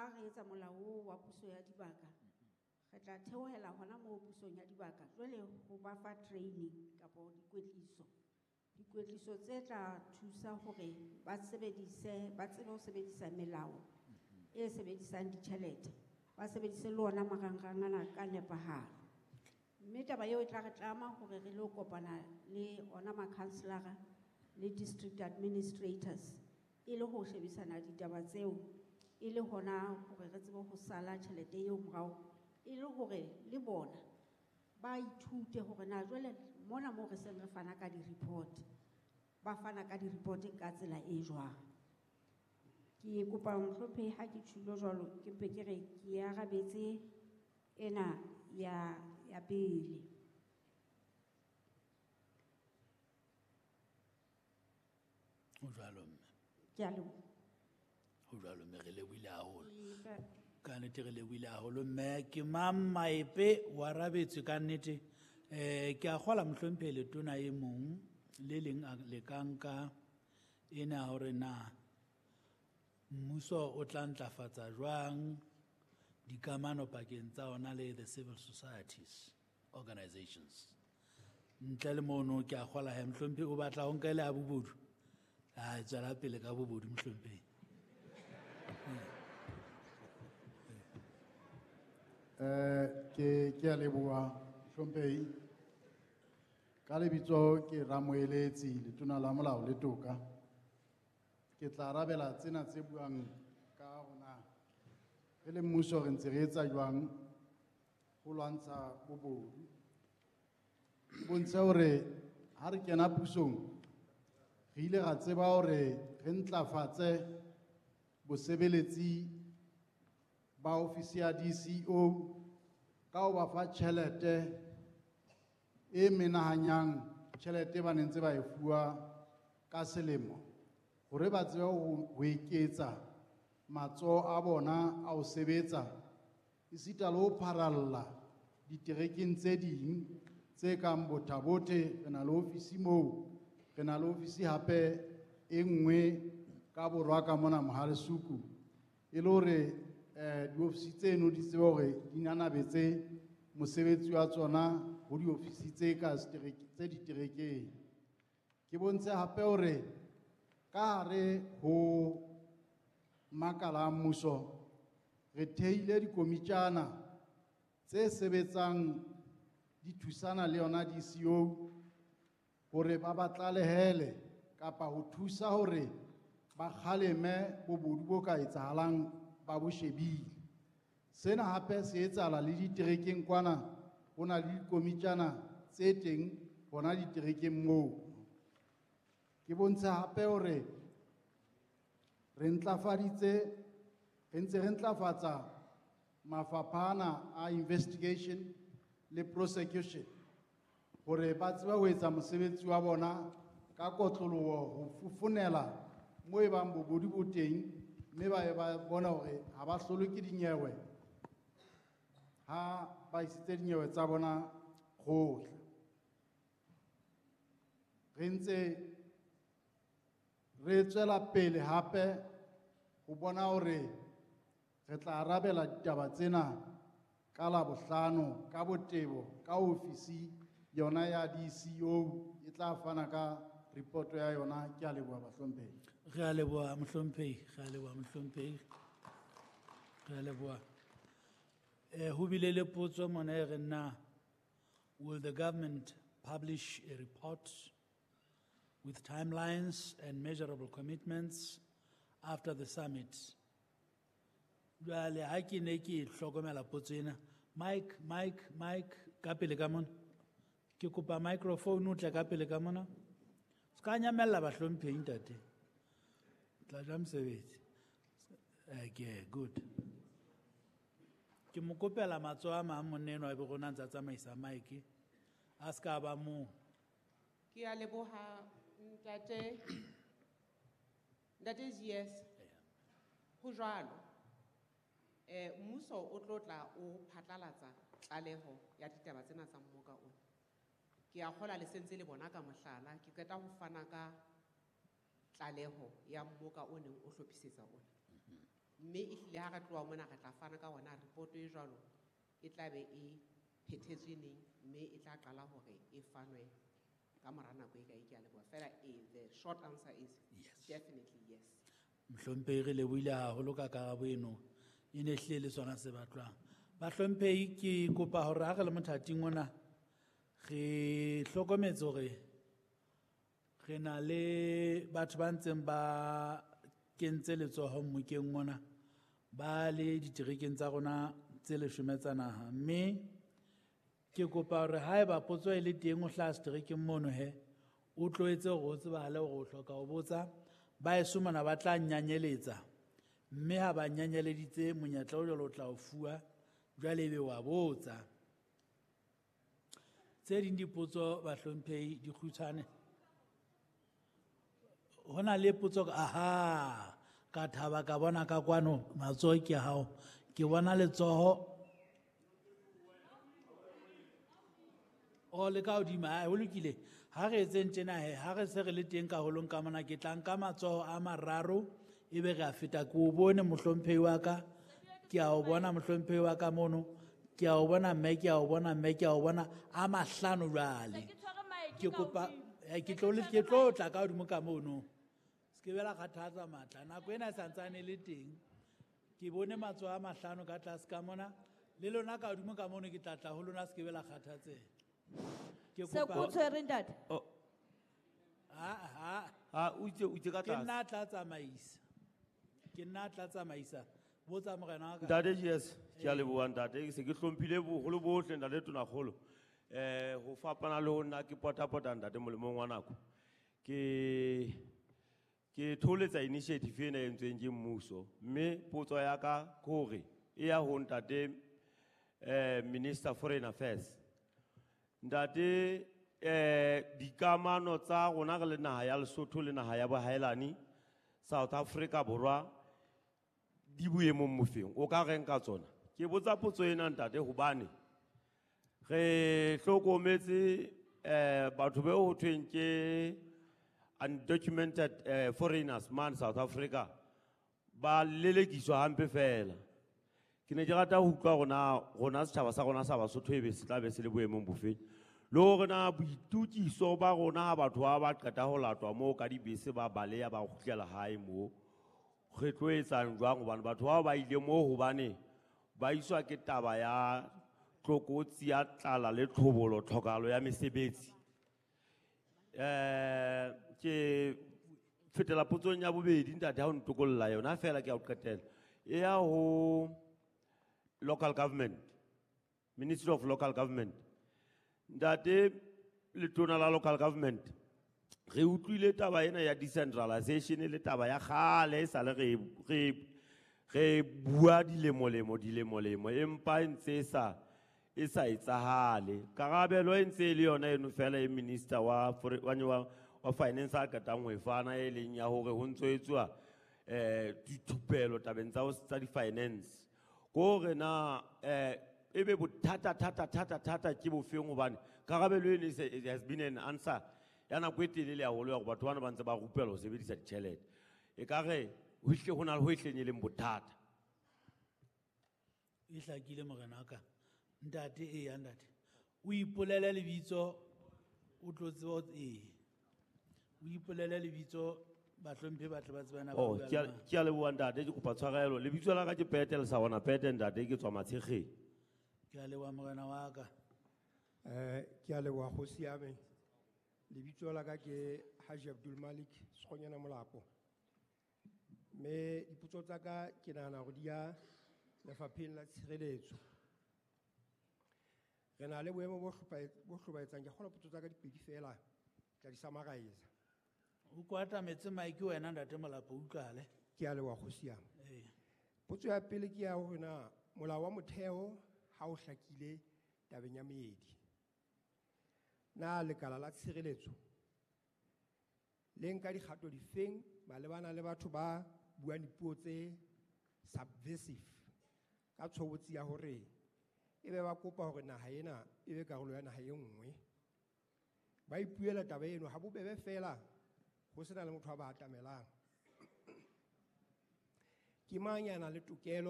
Ha re etsa molao oo wa puso ya dibaka, re tla theohela hona moo pusong ya dibaka jwale ho ba fa training kapa dikwetliso. Dikwetliso tse tla thusa hore ba sebedise, ba tsebe ho sebedisa melao e sebedisang ditjhelete, ba sebedise le ona marangrang ana ka nepahalo. Mme taba eo e tla re tlama hore re lo kopana le ona makhanselara le district administrators e le ho shebisana ditaba tseo, e le hona hore re tsebe ho sala tjhelete eo morao, e le hore le bona ba ithute hore na jwale mona moo re seng re fana ka di-report, ba fana ka di-report ka tsela e jwang. Ke kopa mohlomphehi ha ke tjhulo jwalo, ke mpe ke re ke arabetse ena ya pele. Ho jwalo mme. Ke a leboha. Ho jwalo mme, re lebohile haholo. Ke Ka nnete re lebohile haholo mme. Ke mang Maepe o arabetswe ka nnete. Ke a kgola mohlomphehi letona e mong le leng a le ka nka ena hore na mmuso o tla ntlafatsa jwang dikamano pakeng tsa ona le the civil societies organizations. Ntle le mono ke a kgola he mohlomphehi o batla ho nka ele a bobodu. A tswela pele ka bobodu mohlomphehi. Ke a leboha mohlomphehi. Ka lebitso ke Ramoeletsi, letona la molao le toka. Ke tla arabela tsena tse buang ka rona. Re le mmuso re ntse re etsa jwang ho lwantsha bobodu. Ke bontshe hore ha re kena pusong, re ile ra tseba hore re ntlafatse bosebeletsi ba ofisi ya DCO ka ho ba fa tjhelete e menahanyang tjhelete ba neng ntse ba e fuwa ka selemo, hore ba tsebe ho eketsa matsoho a bona a ho sebetsa, esita le ho pharalla diterekeng tse ding tse kang Botha-Bothe. Re na le ofisi moo, re na le ofisi hape e nngwe ka borwa ka mona Mohalesuku, e le hore diofisi tseno di tsebe hore di nanabetse mosebetsi wa tsona ho diofisi tse ka tse diterekeng. Ke bontshe hape hore ka hare ho makala a mmuso re theile dikomitjana tse sebetsang di thusana le yona DCO hore ba ba tlalehele kapa ho thusa hore ba kgaleme bobodu bo ka etsahalang ba bo shebile. Sena hape se etsahala le diterekeng kwana, ho na le dikomitjana tse teng hona diterekeng moo. Ke bontshe hape hore re ntlafaditse, re ntse re ntlafatsa mafapha ana a investigation le prosecution hore ba tsebe ho etsa mosebetsi wa bona ka kotloloho ho fofonela moo e bang bobodu bo teng, mme ba ye ba bona hore ha ba hlolwe ke dinyewe ha ba isitse dinyewe tsa bona kgotla. Re ntse re tswela pele hape ho bona hore re tla arabela ditaba tsena ka Labohlano ka botebo ka ofisi yona ya DCO e tla fana ka report ya yona. Ke a leboha bahlomphehi. Re a leboha mohlomphehi, re a leboha mohlomphehi. Re a leboha. Ho bile le potso mona e reng na, will the government publish a report with timelines and measurable commitments after the summit? Jwale ha ke ne ke hlokomela potso ena, Mike, Mike, Mike, ka pele ka mona. Ke kopa microphone o tle ka pele ka mona. Se ka nyamella bahlomphehi ntate. Tla ja mosebetsi. Okay, good. Ke mo kopela matsoho a mang monna enwa ebe rona ntse a tsamaisa mic. A se ka ba mong. Ke a leboha ntate. Ntate GS. Ho jwalo. Mmuso o tlo tla o phatlalatsa tlaleho ya ditaba tsena tsa mmoka ona. Ke a kgola le sentse le bona ka mohlala, ke qeta ho fana ka tlaleho ya mmoka o neng o hlophisetsa ona. Mme ehlile ha re tloha mona re tla fana ka hona report e jwalo e tla be e phethetswe neng mme e tla qala hore e fanwe ka mora nako e kae. Ke a leboha fela. The short answer is Yes. Definitely yes. Mohlomphehi, re lebohile haholo ka karabo eno. E ne hlile le sona se batlwang. Bahlomphehi, ke kopa hore ha re le mothating ona re hlokometse hore re na le batho ba ntseng ba kentse letsoho mmokeng ona ba le diterekeng tsa rona tse 10 tsa naha, mme ke kopa hore haeba potso e le teng o hlaha seterekeng mono he o tlo etse hore o tsebahale hore o hloka ho botsa. Ba eso mona ba tla nyanyeletsa, mme ha ba nyanyeleditse monyetla o jwalo o tla o fuwa, jwale ebe wa botsa. Tse ding dipotso bahlomphehi di kgutshwane. Ho na le potso ka, aha, ka thaba ka bona ka kwano matsoho ke hao. Ke bona letsoho. O le ka hodimo, ha, ho lokile. Ha re etseng tjena he, ha re se re le teng ka holong ka mona, ke tla nka matsoho a mararo, ebe re a feta. Ke o bone mohlomphehi wa ka, ke a o bona mohlomphehi wa ka mono, ke a o bona mme, ke a o bona mme, ke a o bona a mahlano jwale. Se ke tshwere mic Ke ka kopa, hodimo. ke tlo le, ke tlo tla ka hodimo ka mono. Se ke be la kgathatsa matla. Nako ena e santsane e le teng. Ke bone matsoho a mahlano ka tlase ka mona. Le lona ka hodimo ka mono ke tla tla ho lona, se ke be la kgathatseha. Ke Se kopa ko tshwere ntate? Oh. Ha, ha. Ha, o itse, o itse ka Ke tlase. nna a tla tsamaisa. Ke nna a tla tsamaisa. Botsa morena wa ka. Ntate GS, ke a leboha ntate, ke se ke hlomphile boholo bohle ntate Tonakgolo. Ho fapana le ho nna ke potapota ntate molemong wa nako. Ke tholetsa initiative ena e entsweng ke mmuso, mme potso ya ka ke hore e ya ho ntate, Minister Foreign Affairs. Ntate, dikamano tsa rona re le naha ya Lesotho le naha ya bohaelani, South Africa Borwa, di boemong bofeng? O ka reng ka tsona? Ke botsa potso ena ntate hobane re hlokometse, batho bao ho thweng ke undocumented, foreigners man South Africa ba lelekiswa hampe fela. Ke ne ke rata ho utlwa rona setjhaba sa rona sa Basotho ebe se tla be se le boemong bofeng. Le hore na boitukiso ba rona ha batho ba ba qeta ho latwa moo ka dibese ba baleha ba kgutlela hae moo, re tlo etsang jwang? Hobane batho bao ba ile moo hobane ba iswa ke taba ya tlokotsi ya tlala le tlhobolo, tlhokahalo ya mesebetsi. Ke fetela potsong ya bobedi ntate ha o ntokolla yona fela ke a o qetela. E ya ho local government, Ministry of Local Government. Ntate letona la local government, re utlwile taba ena ya decentralization le taba ya kgale e sale re bua dilemolemo, dilemolemo, empa e ntse e sa etsahale. Karabelo e ntse e le yona eno fela e minister wa finance a qetang ho e fana, e leng ya hore ho ntso etsuwa, dithupelo tabeng tsa di-finance. Ke hore na, ebe bothata, thata, thata, thata ke bofeng? Hobane karabelo eno it has been an answer ya nako e telele haholo ya hore batho bana ba ntse ba rupelwa ho sebedisa ditjhelete. Ekare ho hle ho na le ho ehleng e leng bothata. E hlakile morena wa ka. Ntate, eya ntate. O ipolele lebitso, o tlo tseba ho ee. O ipolele lebitso, bahlomphehi ba tle ba tsebana ba Oh, bua le mang. ke a leboha ntate, ke kopa tshwarelo. Lebitso la ka ke Petel Sawana Pete ntate, ke tswa Matshekgeng. Ke a leboha morena wa ka. Ke a leboha kgosi ya me. Lebitso la ka ke Haji Abdul Malik Sekgonyana Molapo. Mme dipotso tsa ka ke nahana hore di ya lefapheng la tshireletso. Re na le boemo bo hlobaetsang. Ke kgolwa potso tsa ka di pedi fela, ke tla di summarize. O kwatametse mic wena ntate Molapo, utlwahale. Ke a leboha kgosi ya me. Ee. Potso ya pele ke ya hore na molao wa motheo ha o hlakile tabeng ya meedi. Na lekala la tshireletso le nka dikgato difeng malebana le batho ba buang dipuo tse subversive ka tshobotsi ya hore ebe ba kopa hore naha ena e be karolo ya naha e nngwe? Ba ipuela taba eno ha bobebe fela ho sena le motho a ba atamelang. Ke mang ya nang le tokelo?